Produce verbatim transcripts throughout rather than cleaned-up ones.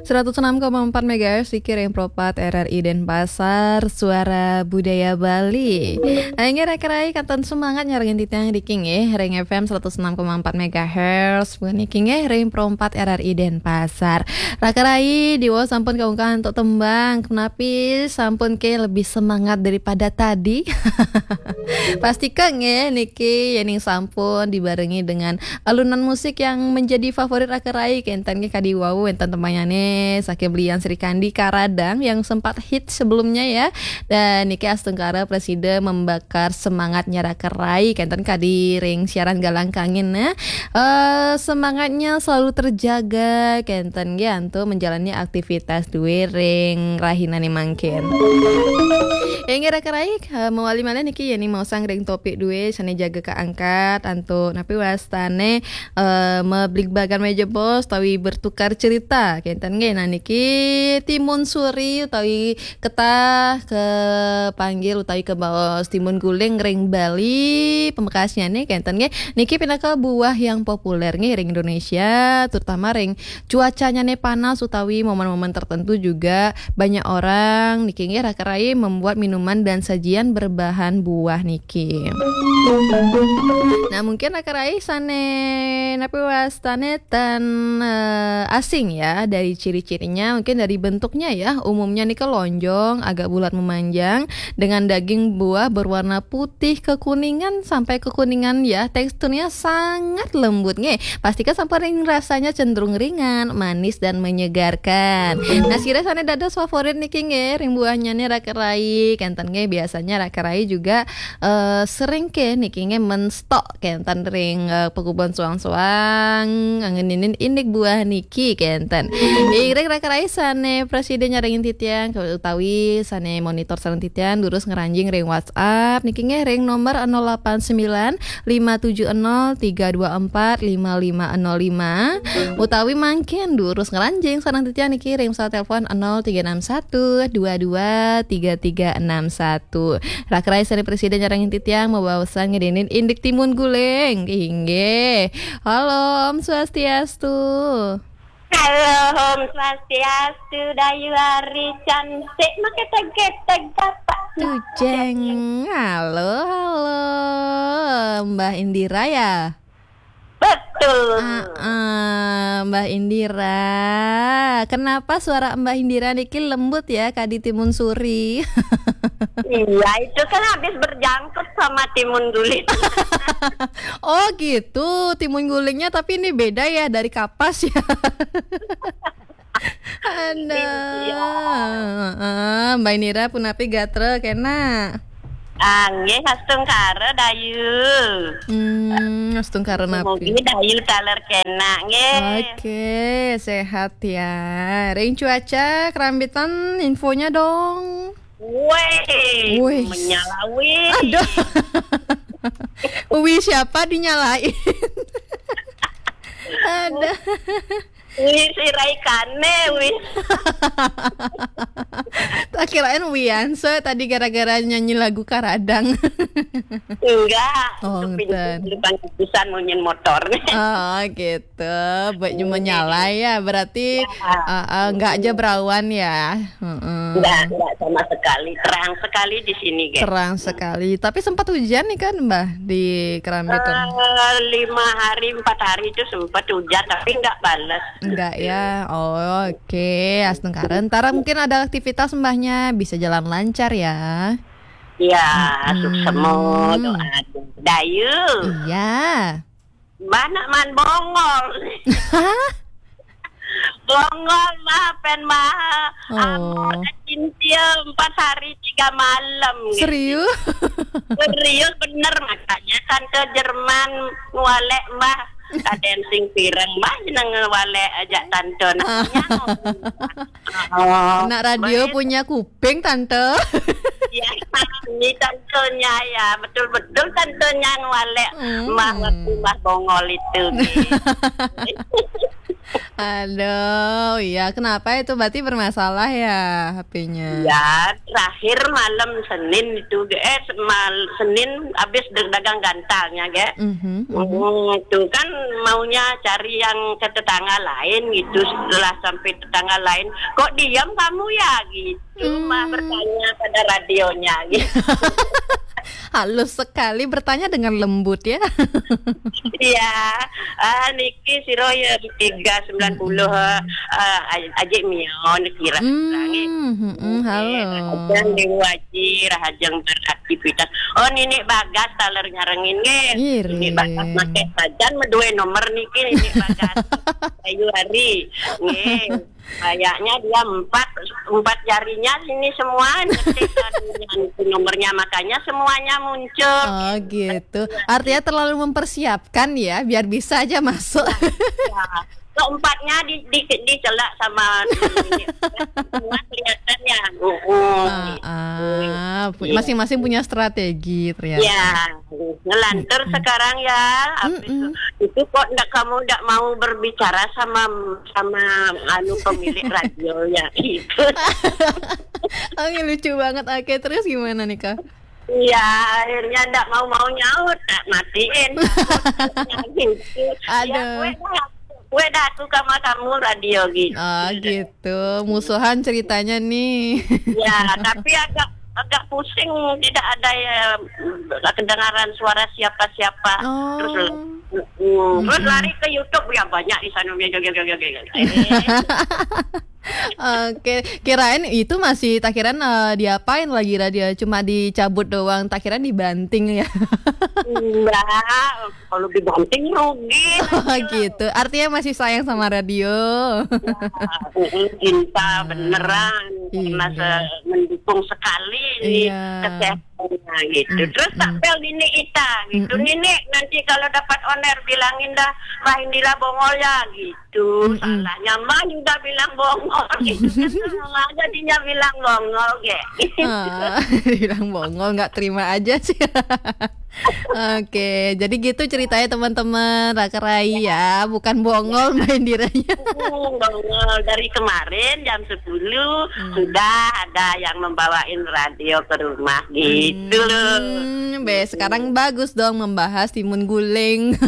Seratus enam koma empat megahertz, Riki ring Pro empat R R I Denpasar, Suara Budaya Bali. Inggih, raka rai, kenten semangat nyarengin titiang niki nggih, ring F M seratus enam koma empat megahertz, puniki nggih, ring Pro empat R R I Denpasar. Raka rai, diwau sampun kaungkah antuk tembang, punapi sampun ke lebih semangat daripada tadi? Pastika nggih, niki yening sampun dibarengi dengan alunan musik yang menjadi favorit raka rai, kenten nggih, kadi wau wenten tembangnyané saking Belian Sri Kandi, Karadang, yang sempat hit sebelumnya ya. Dan niki astungkara prasida membakar semangatnya raka rai, kenten kadi ring siaran Galang Kangin, nah. Eh, semangatnya selalu terjaga, kenten nggih, antuk menjalani aktivitas dué ring rahinané mangkin. Inggih, raka rai, eh, mawali malih niki, yening maosang ring topik dué sané jaga kaangkat antuk napi wastané, eh, mabligbagan méja bos utawi bertukar cerita, kenten nggih. Nah, niki Timun Suri utawi ketah kapanggih utawi kabaos Timun Guling ring Bali, pamekasnyané, kenten nggih. Niki pinaka buah yang populer nggih ring Indonesia, terutama ring cuacanya nih panas utawi momen-momen tertentu juga banyak orang niki nggih, raka rai, membuat minuman dan sajian berbahan buah niki. Nah, mungkin raka rai sané napi wastané tan, eh, asing ya dari ciri-cirinya, mungkin dari bentuknya ya. Umumnya nih lonjong, agak bulat memanjang, dengan daging buah berwarna putih kekuningan sampai kekuningan ya. Teksturnya sangat lembut nggih. Pastika sampun ring rasanya cenderung ringan, manis, dan menyegarkan. Nah, sira sané dados favorit niki nggih, ring buahnyané raka rai, kenten nggih, biasanya raka rai juga, eh, sering ke niki nggih menstok kenten ring, eh, pakubon soang-soang, ngeninin indik buah niki kenten. Inggih, raka rai sané prasida nyarengin titiang, utawi sané monitor sareng titiang, durus ngranjing ring WhatsApp niki nggih ring nomor nol delapan sembilan lima tujuh nol tiga dua empat lima lima nol lima, utawi mangkin durus ngranjing sareng titiang niki ring pesawat telepon nol tiga enam satu dua dua tiga tiga enam satu. Raka rai sané prasida nyarengin titiang mabaosan ngeninin indik Timun Guling. Inggih. Halo, Om Swastiastu. Halo, Om Swastiastu, Dayu Ari cantik, maketek-ketek gapak. Tujeng. Halo, halo. Mbah Indira ya? Betul. Ah, ah, Mbah Indira. Kenapa suara Mbah Indira niki lembut ya, kadi Timun Suri? Iya, itu kan habis berjangkut sama Timun Guling. Oh gitu, Timun Gulingnya, tapi ini beda ya dari Kapas ya. Ada. Iya. Heeh, Mbak Indira punapi gatra kena? Anggih, astungkara, Dayu. Hmm, astungkara napi? Mugi Dayu taler kena, nggih. Oke, sehat ya. Ring cuaca, kerambitan, infonya dong. Woi, Wih. Menyala, wih. Aduh. Wih, siapa dinyalain? Ada. Wih, si Raikane, wih. Tak kirain Wianso tadi gara-gara nyanyi lagu Karadang. Enggak, oh, untuk pintu, enten. Depan kubusan mau nyen motor. Oh, gitu. Buat cuma nyala ya, berarti, ya. Ah, ah, enggak aja berawan ya. Heeh. Enggak, enggak sama sekali. Terang sekali di sini, guys. Terang sekali. Tapi sempat hujan nih kan, Mbah, di Kerambitan? Eh, lima hari, empat hari itu sempat hujan, tapi enggak balas. Enggak ya. Oh, oke. Astungkara. Ntar mungkin ada aktivitas Mbahnya, bisa jalan lancar ya. Iya, mm-mm. Suksema doa. Dayu. Iya. Mbah nak man bongol. Bongol, Mbah, pen Mbah. Oh. Amo cintia empat hari tiga malam, gitu. Serius? Serius bener, makanya tante Jerman ngwalek Mbah. Kaden sing pireng, Mbah, jeneng ngwalek ajak tante. Nah, ah. Nyaman. Oh, nak radio betul. Punya kuping, Tante. Ya, ini tantenya ya, betul-betul tantenya ngwalek. Hmm. Mbah waktu Mbah bongol itu, gitu. Aduh, ya, kenapa itu? Berarti bermasalah ya H P-nya? Ya, terakhir malam Senin itu, eh, mal-, Senin habis dagang gantalnya, ge. Mhm, mhm. Hmm, itu kan maunya cari yang ke tetangga lain gitu. Setelah sampai tetangga lain, "Kok diam kamu ya?" Gitu, mah, hmm, bertanya pada radionya gitu. Halus sekali, bertanya dengan lembut ya. Iya, ah, niki sira ya tiga sembilan puluh, mm-mm, eh, eh, aj-, ajik mion kira. Hmm, mm-mm, halo. Rahajeng Dewa Aji, rahajeng beraktivitas. Oh, Ninik Bagas taler nyarengin nggih. Ngiring. Ninik Bagas make sajan medue nomor niki, Ninik Bagas. Ayu Hari. Nggih. Kayaknya dia empat, empat jarinya sini semua ngetik anunya, nomornya, makanya semuanya muncul. Oh, gitu. Artinya terlalu mempersiapkan ya, biar bisa aja masuk. Ya. Keempatnya di, di, dicelak sama semua kelihatan ya. Heeh. Ah, ah. Pu-, iya, masing-masing punya strategi ternyata. Ya, ngelantur, mm-mm, sekarang ya. Habis, mm-mm, itu, itu kok ndak, kamu ndak mau berbicara sama, sama anu, pemilik radio ya gitu. Oke, lucu banget. Oke, terus gimana nih, Kak? Iya, akhirnya ndak mau-mau nyaut, tak matiin. Takutnya gitu. Ya, aduh. Kue dah, kue dah aku sama kamu radio gitu. Oh, gitu. Musuhan ceritanya nih. Ya, tapi agak, agak pusing, tidak ada ya, kedengaran suara siapa-siapa. Oh. Terus, mm, terus, mm-mm, lari ke YouTube, ya banyak di sana. Eh. Oke, kirain itu masih, tak kirain, eh, diapain lagi radio, cuma dicabut doang, tak kirain dibanting ya. Enggak, kalau dibanting rugi. Oh, radio. Gitu. Artinya masih sayang sama radio. Ya, mm, cinta, ah, beneran, karena, iya, se-, mendukung sekali ini, iya, kesehatan. Nah, gitu. Mm-mm. Terus tak pel ini Ita, gitu. Mm-mm. Nini, nanti kalau dapat on air bilangin dah, Mbah Indira bongol ya, gitu. Mm-mm. Salahnya Mbah juga bilang bongol, gitu. Kan sama aja dia bilang bongol, ge. Ah, bilang bongol, nggak terima aja sih. Oke, jadi gitu ceritanya teman-teman, Raka Rai ya, bukan bongol, ya, Mbah Indiranya. Hmm, bongol dari kemarin jam sepuluh, hmm, sudah ada yang membawain radio ke rumah gitu loh. Hmm, be, sekarang bagus dong membahas timun guling.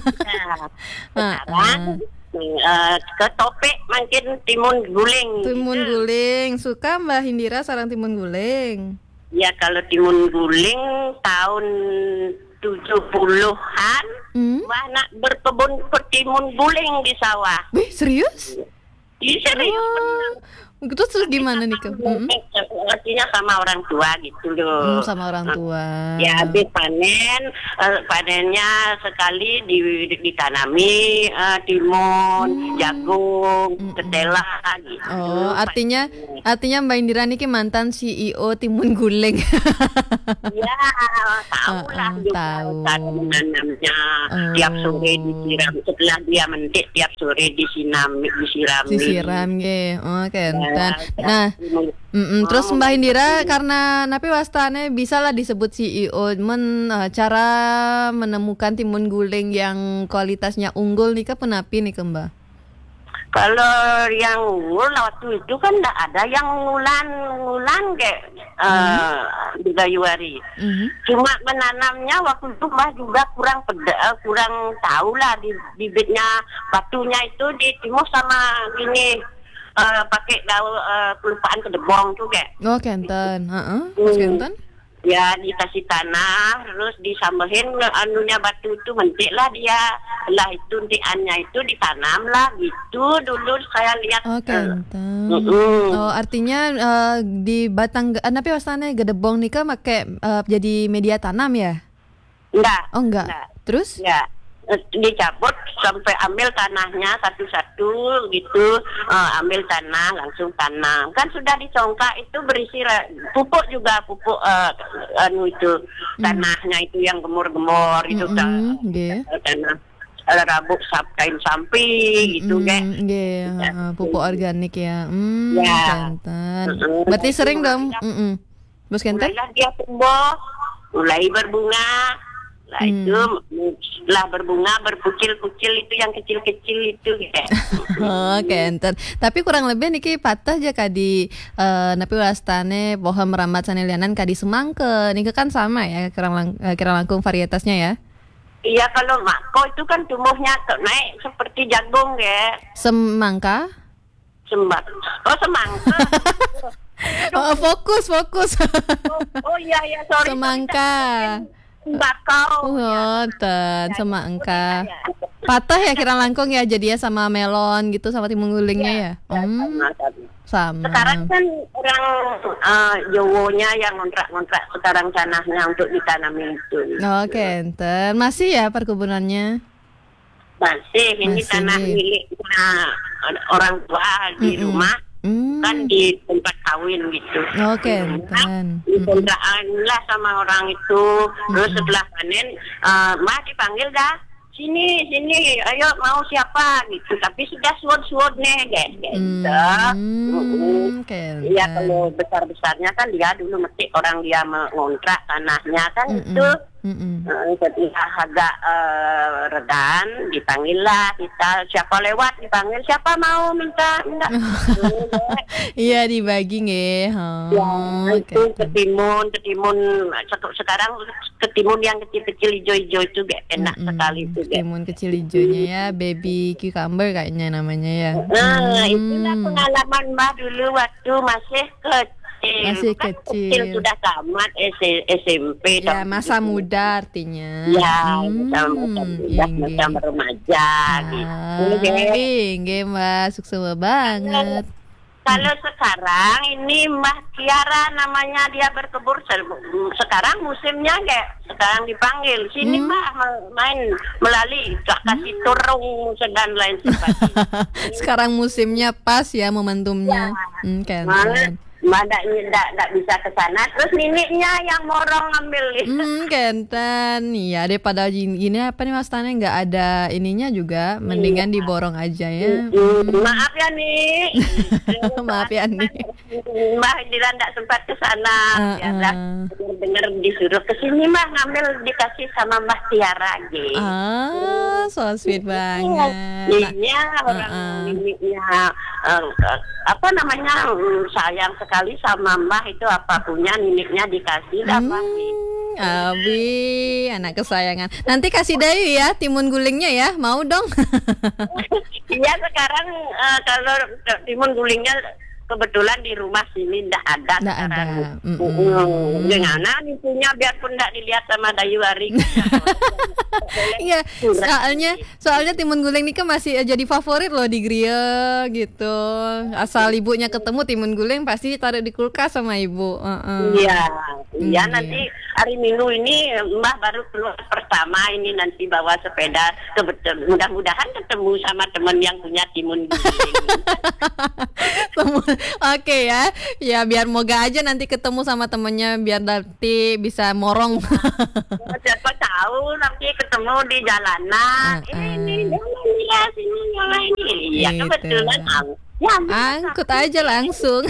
Nah, sekarang, eh, ke topik mungkin timun guling gitu. Timun guling. Suka Mbah Indira sareng timun guling? Ya, kalau timun guling tahun tujuh puluhan, hmm, Mbah nak berkebun timun guling di sawah. Wih, serius? Iya, serius, oh, bener. Terus, terus gimana nih, Kak? Mm-mm. Artinya sama orang tua gitu loh. Hmm, sama orang tua. Ya, habis panen, eh, panennya sekali di-, ditanami, eh, timun, hmm, jagung, mm-mm, ketela gitu. Oh, artinya, panen, artinya Mbak Indira niki mantan C E O timun guling. Ya, tahu lah, heeh, juga tahu cara menanamnya. Oh. Tiap sore disiram, setelah dia mentik, tiap sore disinam, disirami. Disiram, nggih. Oh, kenten. Ya, nah, mm-mm. Terus, oh, Mbah Indira, karena napi wastane bisa lah disebut C E O, men, eh, cara menemukan timun guling yang kualitasnya unggul nika punapi nika, Mbah? Kalau yang unggul waktu itu kan ndak ada yang ngulan, ngulan kayak, eh, hmm, di Bayuari. Mhm. Cuma menanamnya waktu itu Mbah juga kurang pede-, eh, kurang tahu lah di-, bibitnya, batunya itu ditimbun sama ini, eh, pakai daun, eh, kelupaan kedebong tuh, kayak. Oh, kenten. Heeh. Terus, hmm, kenten? Ya, dikasih tanah, terus disambehin anunya batu itu, mentik lah dia. Lah itu entikannya itu ditanam lah gitu dulu saya lihat. Oh, eh, kenten. Mm-mm. Oh, artinya, eh, di batang ge-, eh, napi wastane gedebong nika make, eh, jadi media tanam ya? Enggak. Oh, enggak. Enggak. Terus? Enggak. Eh, dicabut sampai ambil tanahnya satu-satu gitu, eh, ambil tanah, langsung tanam. Kan sudah dicongkak itu berisi ra-, pupuk juga, pupuk, eh, anu itu, hmm, tanahnya itu yang gemor-gemor itu, mm-mm, ta-, nggih, tanah, eh, rabuk sap-, kain sampi gitu, mm-mm, nggih. Nggih, ya, heeh, pupuk organik ya. Hmm, ya. Kenten. Mm-mm. Berarti sering dong. Mulailah, mm-mm. Terus kenten? Mulailah dia tumbuh, mulai berbunga, Lah itu lah berbunga, berkucil-kucil itu yang kecil-kecil itu ya. Oh, kenten. Tapi kurang lebih niki pateh ja kadi eh, napi wastane pohon merambat sane lianan kadi semangka. Niki kan sama ya, kirang lang, eh, kirang langkung varietasnya ya. Iya, kalau mako itu kan tumbuhnya tuh naik seperti jagung ya. Semangka? Sembak. Oh, semangka. Oh, fokus, fokus. Oh, oh iya, iya, sorry. Semangka. Sembakau. Ngoten, semangka. Pateh ya kirang langkung ya, jadi ya sama melon gitu, sama timun gulingnya ya. Hmm, Sama, sama. Sama. Sekarang kan orang eh, Jowonya yang ngontrak-ngontrak sekarang tanahnya untuk ditanami itu. Oke, enten. Masih ya perkebunannya? Masih, ini Masih. Tanah miliknya orang tua di Mm-mm. rumah, Hmm. kan di tempat kawin gitu. Oke, enten. Dikontrakan lah sama orang itu. Terus Mm-mm. Setelah panen, eh, Mbah dipanggil dah. "Sini, sini, ayo, mau siapa?" gitu. Tapi sudah suod-suod nih, kayak gitu. Hmm, oke, Iya, enten. Kalau besar-besarnya kan dia dulu mesti orang dia mengontrak tanahnya kan Mm-mm. itu. Mm-mm. Eh, Setelah agak eh, redan, dipanggil lah kita. Siapa lewat dipanggil, siapa mau minta, minta. Iya, dibagi nggih. Oh, Ya, oke. Itu ketimun, ketimun se- sekarang ketimun yang kecil-kecil hijau-hijau itu gak enak Mm-mm. sekali itu gak. Timun kecil hijaunya ya, baby cucumber kayaknya namanya ya. Nah, itulah Hmm. Pengalaman Mbah dulu waktu masih kecil. Masih Kan kecil. Sudah tamat S- SMP Ya, tahun masa tujuh puluh. muda artinya. Ya, Hmm, masa muda, masa inggih. Remaja gitu. Ah, Inggih. Inggih, Mbak, suksma banget. Kalau sekarang ini Mbah Tiara namanya, dia berkebun se- sekarang musimnya kayak sekarang dipanggil sini Hmm. Mbah me- main melali, tak kasih turung dan lain sebagainya. Sekarang musimnya pas ya, momentumnya. Hmm, Malah kenten. Mbah ndak ndak ndak bisa ke sana, terus nininya yang morong ngambil. Hmm, kenten. Iya deh, padahal gini, gini apa nih, wastane nggak ada ininya juga, mendingan diborong aja ya. Hmm, Maaf ya nih. Maaf ya nih. Mbah Indira ndak sempat ke sana. Heeh. Ya dah. Dengar disuruh ke sini Mbah, ngambil, dikasih sama Mbah Tiara gitu. Ah, so sweet banget. Nah, Iya, orang heeh. Nininya eh, eh, apa namanya, mm, sayang sekali sama Mbah, itu apa punya nininya dikasih dah Mbah. Hmm, Abi, anak kesayangan. Nanti kasih Dayu ya, timun gulingnya ya, mau dong. Iya, sekarang eh, kalau timun gulingnya kebetulan di rumah sini ndak ada Ndak sekarang. ada. Mm-mm. Mm-mm. Dengan itunya biarpun ndak dilihat sama Dayu Ari. Iya, soalnya soalnya timun guling ini kan masih eh, jadi favorit loh di griya gitu. Asal ibunya ketemu timun guling pasti taruh di kulkas sama ibu. Heeh. Iya, iya Iya. Nanti hari Minggu ini Mbah baru keluar pertama ini, nanti bawa sepeda. Kebetulan mudah-mudahan ketemu sama teman yang punya timun guling. Semua- Oke ya, ya biar moga aja nanti ketemu sama temennya biar nanti bisa morong. Siapa tahu nanti ketemu di jalanan. Heeh. Eh, ini jangan ya, sini yang ini. Iya, Gitu. Kebetulan ang- ya, Angkut aja langsung.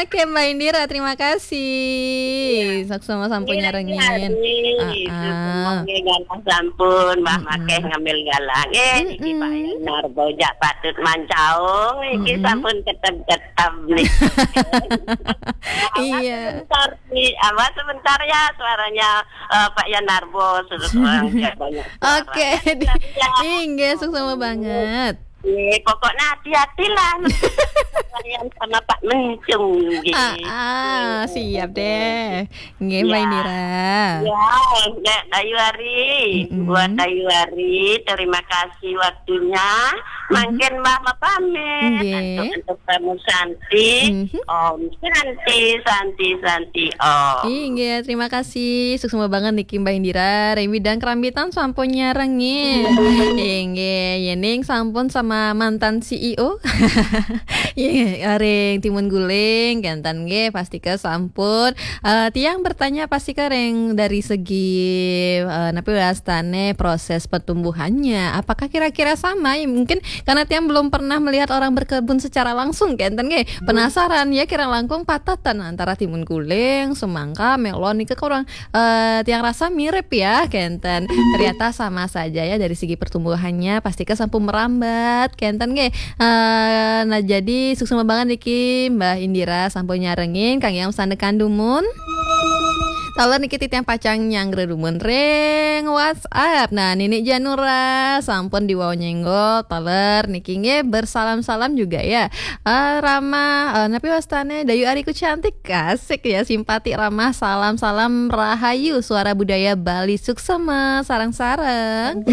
Oke, Mbak Indira, terima kasih. Suksma sampun Iya, nyarengin. iya, iya. Ah, ah. Oke, galah sampun, Mbah Mm-mm. Makeh ngambil galang. Eh, niki Mm-mm. Pak Yanar Bojak patut mancaung, iki Mm-mm. Sampun ketep-ketep nih. Iya. Sebentar nih, apa sebentar ya suaranya eh, Pak Yanarbo, sudah orang dia banyak suara. Oke, Ya, di- ya. Inggih, suksma banget. Iya, pokoknya hati-hatilah. Yang sama Pak Mencung gitu. Ah, ah, siap deh. Nggih, Mbak Ya. Indira. Ya, Mbak Dayu Ari, Mm-mm. buat Dayu Ari, terima kasih waktunya. Mangkin Mbah mapamit. Nggih. Antuk, antuk Pramu Santi. Mhm. Om Santi, Santi, Santi, Om. Inggih, terima kasih. Suksma banget niki Mbak Indira. Remi dan kerambitan sampun nyarengin. Inggih, yening sampun sama mantan C E O. Iya, ring timun guling, kenten nggih, pastika sampun. Eh, tiang bertanya pastika ring dari segi, eh, napi wastane proses pertumbuhannya. Apakah kira-kira sama? Ya, mungkin karena tiang belum pernah melihat orang berkebun secara langsung, kenten nggih. Penasaran ya, kira langkung patatan antara timun guling, semangka, melon, nika kurang, eh, tiang rasa mirip ya, kenten. Ternyata sama saja ya dari segi pertumbuhannya, pastika sampun merambat, kenten nggih. Eh, nah, jadi suksma banget niki Mbah Indira sampun nyarengin kang yang sandekan dumun. Taler niki titiang pacang nyanggra dumun ring WhatsApp. Nah, Nini Janura sampun diwau nyenggol. Taler niki nggih bersalam-salam juga ya. Eh, ramah, eh, napi wastane Dayu Ariku cantik, asik ya, simpati, ramah, salam-salam rahayu, suara budaya Bali suksma, sareng-sareng.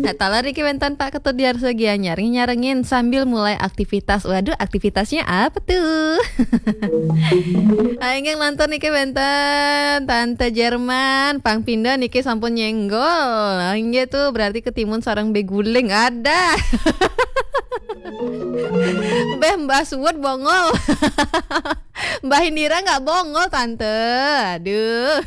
Nah, taler niki wenten Pak Ketut Diarso Gianyar nyarengin sambil mulai aktivitas. Waduh, aktivitasnya apa tuh? Ah, inggih lantur niki wenten Tante Jerman, pang pinda niki sampun nyenggol. Ah, inggih tuh berarti ketimun sareng beguling ada. Beh, Mbah Suwut bongol. Mbah Indira nggak bongol, Tante. Aduh.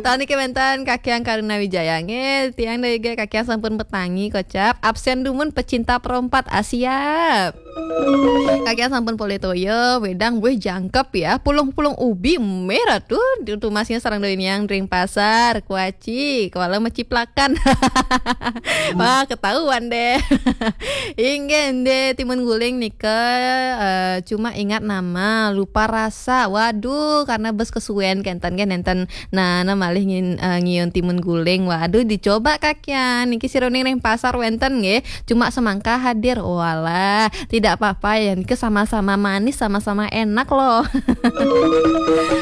Taler niki wenten Kakian Karuna Wijaya. Nggih, tiang daya kakian sampun petangi kocap. Absen dumun pecinta perompat, ah, siap. Kakian sampun polih toya, wedang, weh, jangkep ya. Pulung-pulung ubi, merah tuh. Tumasnya sareng doi niang ring pasar, kuaci, kuala meciplakan. Wah, ketahuan deh. Inggih, deh, timun guling nika, eh, cuma ingat nama, lupa rasa. Waduh, karena bes kesuwen kenten kan, nenten. Nah, nah malih ngin-, eh, ngiun timun guling. Waduh, dicoba kakian. Niki siruning ring pasar wenten nggih. Cuma semangka hadir. Walah, tidak apa-apa ya. Niki sama-sama manis, sama-sama enak loh.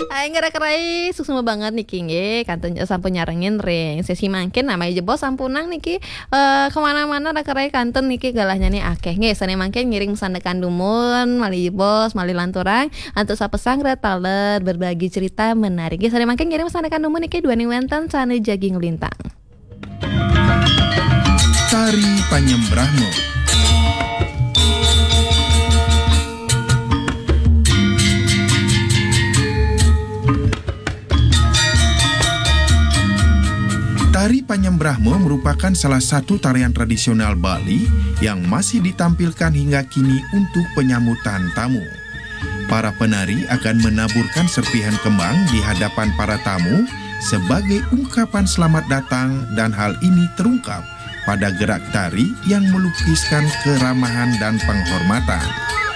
Ayo, nggih, raka rai, suksma banget niki nggih. Kantun sampun nyarengin ring sesi mangkin, namanya jebos sampunang niki, eh, kemana-mana raka rai, kantun niki galahnya nih akeh nggih. Sane mangkin ngiring sandekan dumun, malih jebos, malih lanturang, antuk sapasanggra taler berbagi cerita menarik. Nggih, sane mangkin ngiring sandekan dumun niki duaning wenten sane jagi nglintang. Tari Panyembrahma. Tari Panyembrahma merupakan salah satu tarian tradisional Bali yang masih ditampilkan hingga kini untuk penyambutan tamu. Para penari akan menaburkan serpihan kembang di hadapan para tamu sebagai ungkapan selamat datang, dan hal ini terungkap pada gerak tari yang melukiskan keramahan dan penghormatan.